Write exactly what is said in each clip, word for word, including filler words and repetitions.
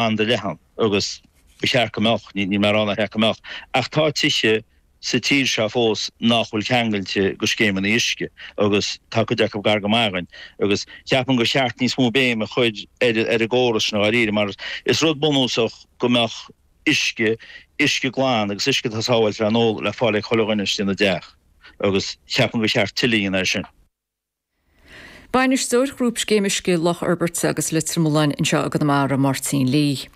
an-leathan agus ba cheart go mbeadh, ní mé a rá nár cheart go mbeadh, ach tá tithe sa tír seo fós nach bhfuil ceangailte go scéimeanna uisce agus tá cuid acu gar go maith againn agus ceapaim gur cheart níos mó béim a chur ar ar an gcóras sin dháiríre mar is rud bunúsach go mbeadh uisce, uisce glan agus uisce atá sábháilte le n-ól le fáil ag chuile dhuine istigh ina dteach agus ceapaim gur cheart tuilleadh a dhéanamh air sin. Bainisteoir Ghrúpscéim Uisce Loch Fhorbairte agus Leitir Mealláin anseo i gConamara, Máirtín Lee.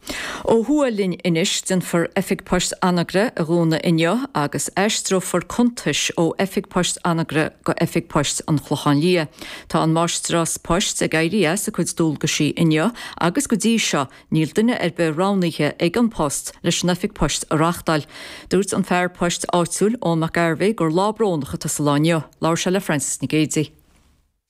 Ó thuaidh linn anois, déanfar Oifig Poist Anagaire a dhúnadh inniu agus aistreofar cuntais ó Oifig Poist Anagaire go Oifig Poist an Chlocháin Liath. Tá an Máistreás Poist ag éirí as a cuid dualgaisí inniu agus go dtí seo níl duine ar bith roghnaithe ag An Post leis an Oifig Poist a reáchtáil. Dúirt an fear poist áitiúil Eoin Mac Gairbhí gur lá brónach atá sa lá inniu. Labhair sé le Francis Nic Géadaigh.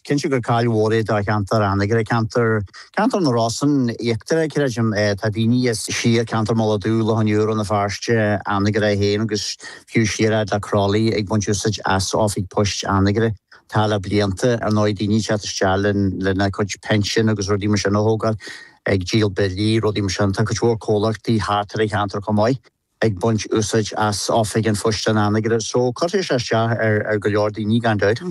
Cinnte gur caill mhór é do cheantar Anagaire, ceantar ceantar na Rosann íochtarach, creidim. Tá daoine as siar ceantar Mhullach Dubh, Loch an Iúir, Rann na Feirste, Anagaire féin agus fiú siar fhad le Crolly ag baint úsáid as oifig poist Anagaire. Tá le blianta, ar ndóigh, daoine ag teacht isteach lena gcuid pinsean agus rudaí mar sin a thógáil, ag díol billí, rudaí mar sin. Tá cuid mhór comhlachtaí thart ar an cheantar chomh maith. ag baint úsáid as oifig an phoist in Anagaire so cuirfidh sé isteach ar ar go leor daoine gan dabht.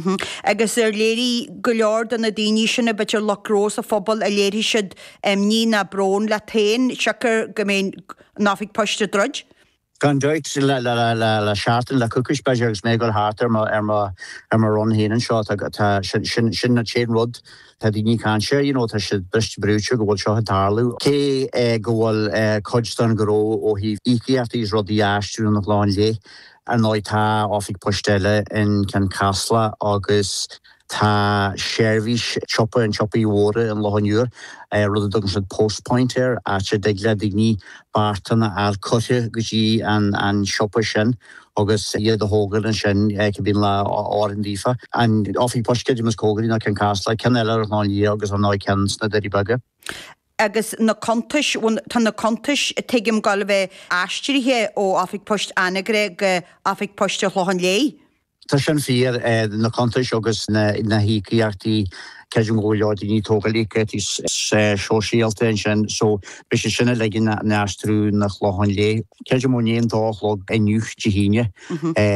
Agus ar léirigh go leor de na daoine sin a b'fhéidir lucht gnó sa phobal ar léirigh siad imní ná brón leat féin siocair go mbeidh an oifig poist ag druid? Gan dabht, le le le le seachtain, le coicís b'fhéidir agus mé ag dul thart ar mo ar mo ar mo run féin anseo tá tá sin sin sin an t-aon rud Tá daoine ag caint air, you know, tá siad briste brúite go bhfuil seo ag tarlú. Cé go bhfuil cuid den ghnó ó thaobh íocaíochtaí is rudaí a aistriú 'na Clochán Léith, ar ndóigh tá oifig poist eile in Ceann Caslach agus tá seirbhís siopa an tsiopaí mhóra in Loch an Iúir, rud a dtugann siad Post Point air, áit a dtig le daoine beartán a fháil curtha go dtí an siopa sin. agus iad a thógáil ansin cibé lá a oireann daofa. An oifig poist creidim is cóngaraí ná Ceann Caslach, ceann eile ar an Chlochán Liath agus ar ndóigh ceann sna Doirí Beaga. Agus na cuntais, bhuel tá na cuntais tuigim ag gabháil a bheith aistrithe ó Oifig Poist Anagaire go Oifig Poist an Chlocháin Léith. Tá sin fíor, na cuntais agus na híocaíochtaí, creidim go bhfuil go leor daoine ag tógáil íocaíochtaí sóisialta ansin so beidh sé sin uilig in aistriú 'na Clochán Léith. Creidim ó i ndiaidh an dó a chlog inniu, Dé hAoine,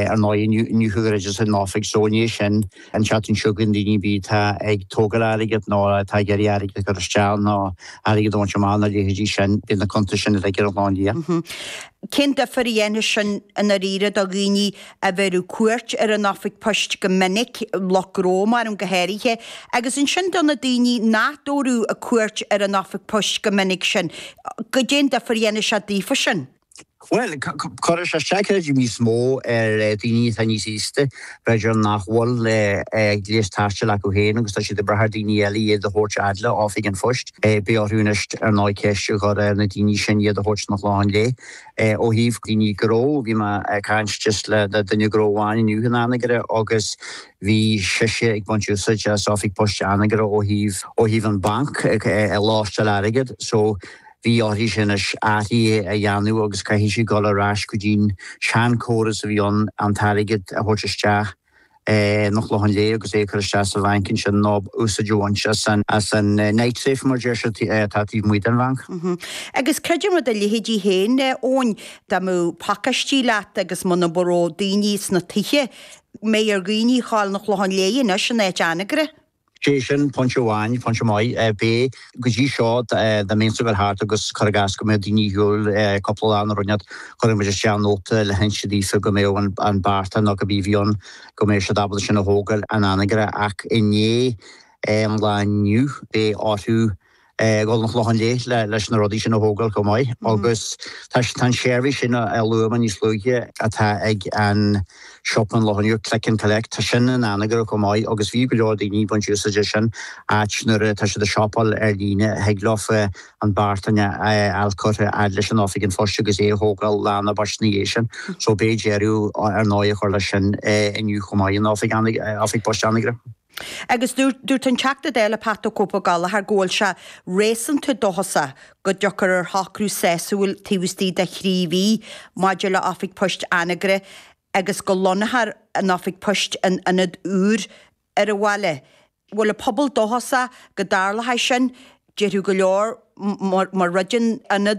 ar ndóigh inniu inniu a dhruideas an oifig so i ndiaidh sin an tseachtain seo chugainn daoine ar bith atá ag tógáil airgead nó atá ag iarraidh airgead a chur isteach nó airgead a bhaint amach nó a leithéidí sin, beidh na cuntais sin uilig ar an Chlochán Liath. Cén difear a dhéanfadh sin i ndáiríre do dhaoine a bheireadh cuairt ar an oifig poist go minic, lucht gnó maram go háirithe, agus ansin do na daoine nach dtabharfadh cuairt ar an oifig poist go minic sin, goidé an difear a dhéanfadh sé daofa sin? Bhuel, cuirfidh sé isteach creidim níos mó ar daoine atá níos aosta, b'fhéidir nach bhfuil gléas taistil acu féin agus tá siad ag brath ar daoine eile iad a thabhairt fhad le oifig an phoist. Beidh orthu anois ar ndóigh ceist a chur ar na daoine sin iad a thabhairt 'na Clochán Léith. Ó thaobh daoine gnó, bhí mé ag caint just le duine gnó amháin inniu in Anagaire agus bhí sise ag baint úsáid as oifig poist Anagaire ó thaobh ó thaobh an banc ag láimhseáil airgead so bhí uirthi anois athruithe a dhéanamh agus caithfidh sí dul ar ais go dtí'n seanchóras a bhí ann an t-airgead a thabhairt isteach 'na Clochán Léith agus é a chur isteach sa bhanc ansin nó úsáid a bhaint as an as an night safe mar deir siad atá taobh amuigh den bhanc. Agus creidim do leithéidí féin, Eoin, dá mbeadh pacáistí leat agus muna raibh daoine sna tithe, mbeidh ar dhaoine a ghabháil 'na Clochán Léith anois in áit Anagaire. Sé sin pointe amháin, pointe maith. Beidh, go dtí seo, dá mbeinnse ag dul thart agus cuir i gcás go mbeadh daoine ar shiúl cúpla lá nó rud inteacht, chuirfeadh muid isteach nóta le hinse daofa go mbeadh an beartán nó cibé a bhí ann, go mbeadh siad ábalta sin a thógáil in Anagaire ach i ndiaidh an lae inniu beidh orthu dul 'na Clochán Léith leis na rudaí sin a thógáil chomh maith agus tá an seirbhís sin a luaigh mé níos luaithe atá ag an siopa in Loch an Iúir, Click and Collect, tá sin in Anagaire chomh maith agus bhí go leor daoine ag baint úsáid as sin áit nuair atá siad ag siopáil ar líne thig leofa an beartán a fháil curtha fhad leis an oifig an phoist agus é a thógáil lá nó beirt ina dhiaidh sin. So beidh deireadh ar ndóigh a chur leis sin inniu chomh maith in oifig poist Anagaire. Agus dúirt an Teachta Dála Pat 'The Cope' Ó Gallchóir go bhfuil sé réasúnta dóchasach go dtiocfar ar shocrú sásúil taobh istigh de thrí mhí maidir le Oifig Poist Anagaire agus go lonnófar an Oifig Poist in ionad úr ar an bhaile. Bhfuil an pobal dóchasach go dtarlóidh sin? Déarfadh go leor mar rud den ionad